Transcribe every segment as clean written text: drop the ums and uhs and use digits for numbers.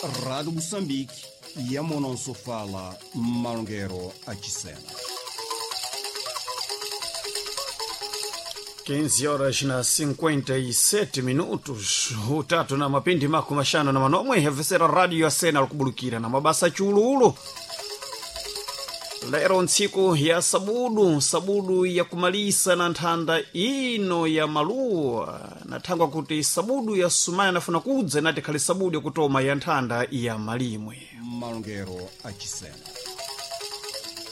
Rádio Moçambique, Yamononso fala Malongero a Chisena. 15 horas na 57 minutos, utatu na mapindi mako mashano na manomwe hevesera radio ya sena likubulukira na mabasa chululu. Lero ntsiku ya sabudu, sabudu ya kumalisa na nthanda ino ya maluwa, nathangwa kuti sabudu ya sumaya nafuna kudza inati khali sabudu yakutoma ya nthanda ya malimwe. Malongero a Chisena.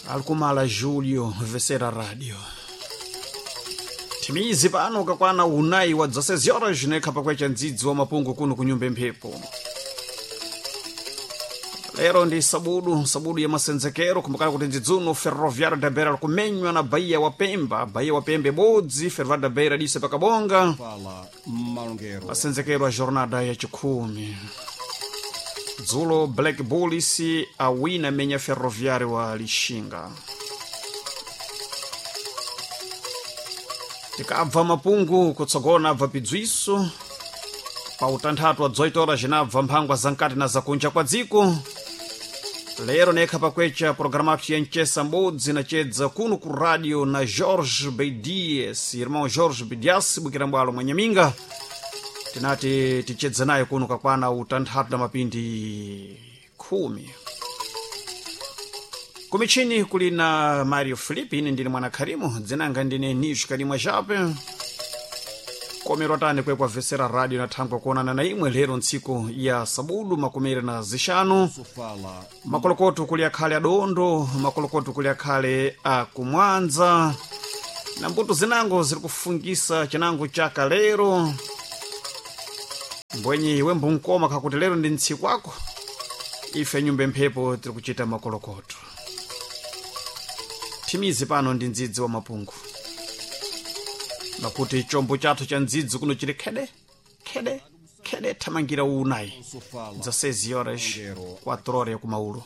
Alikumala Julio vesera radio. Timizi pano ukakwana unayi wa 16 horas nekha pakwecha ndzidzi wa mapungu kuno kunyumba mphepo. Lero ndi sabudu, sabudu ya masenzekero, kumbukani kuti ndzidzuno Ferroviário da Beira likumenywa na Bahia wa Pemba, Bahia wa Pemba ibodzi, Ferroviário da Beira dise pakabonga. Fala Malongero Masenzekero a jornada ya chikhumi. Dzulo Black Bulls awina menya Ferroviário wa Lixinga. Tikabva mapungu kutsogona abva pidzwiso pa utanthatu wa 18 horas cinabva mphangwa zamkati na zakunja kwa dziko. Lero nekha pakwecha programa yapsi ya mchesa mbodzi nachedza kuno ku radio na Jorge Bedias, irmão Jorge Bedias bukira mbwalo mwanyaminga. Tinati tichedza naye kuno kakwana utanthatu na mapindi 10. Kumichini kuli na Mario Filipe, ine ndine mwana Karimu, dzinanga ndine Nish Karimwa Jape. Komero atani kwekwa vesera radio na thangwa kuonana na imwe lero ntsiku ya sabudu makumere na zixanu. fala Makolokoto kuli akhale adondo, makolokoto kuli akhale akumwanza. Na mbuto zinango ziri kufungisa chinango chaka lero. Mbwenye iwe mbunkoma kakuti lero ndi ntsiku ako. Ife nyumba mphepo tiri kuchita makolokoto. Thimizi pano ndi ndzidzi wa mapungu. Nakuti chombo chathu cha ndzidzi kuno chili khede khede khede thamangira unayi fala 16 horas 4 horas ya kumaulo.